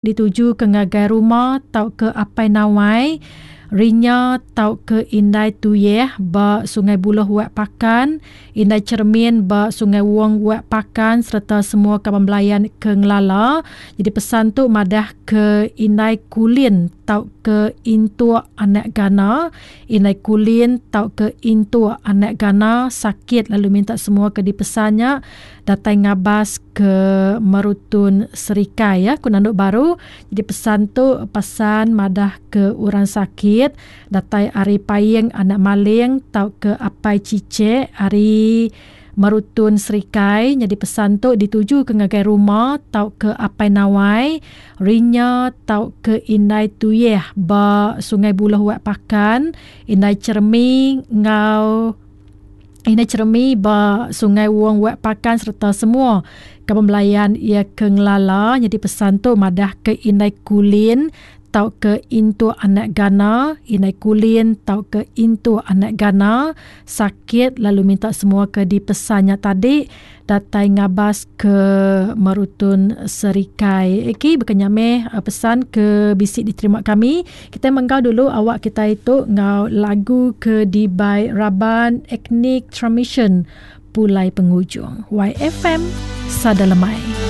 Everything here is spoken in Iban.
Dituju ke ngagai ruma tauka apai nawai, rinya tauka indai tuyeh ba Sungai Buloh Wak Pakan, indai Cheremin ba Sungai Wong Wak Pakan sereta semua kaban belayan ke ngelala. Jadi pesan tu madah ke indai Kulin tauka Intuk anak Gana, indai Kulin tauka Intuk anak Gana sakit lalu minta semua ke dipesan nya datai ngabas ke Merutun Serikai ya ku nandu baru. Jadi pesan tu pesan madah ke orang sakit datai ari Paing anak Maling tauka Apai Chichek ari Merutun Serikai. Nyadi pesan tu dituju ke ngagai ruma tauka Apai Nawai, Rinya tauka Indai Tuyeh ba Sungai Buloh Wak Pakan, Indai Cheremi enggau Indai Cheremi ba Sungai Wong Wak Pakan sereta semua kaban belayan iya ke ngelala. Nyadi pesan tu madah ke Indai Kulin tauka Intuk anak Gana, Indai Kulin tauka Intuk anak Gana sakit lalu minta semua ke dipesan nya tadi datai ngabas ke Merutun Serikai. Okey, baka nya meh pesan ke bisi diterima kami. Kitai menggau dulu awak kitai tu enggau lagu ke dibai raban Ethnic Transmission Pulai Pengujung. YFM Sada Lemai.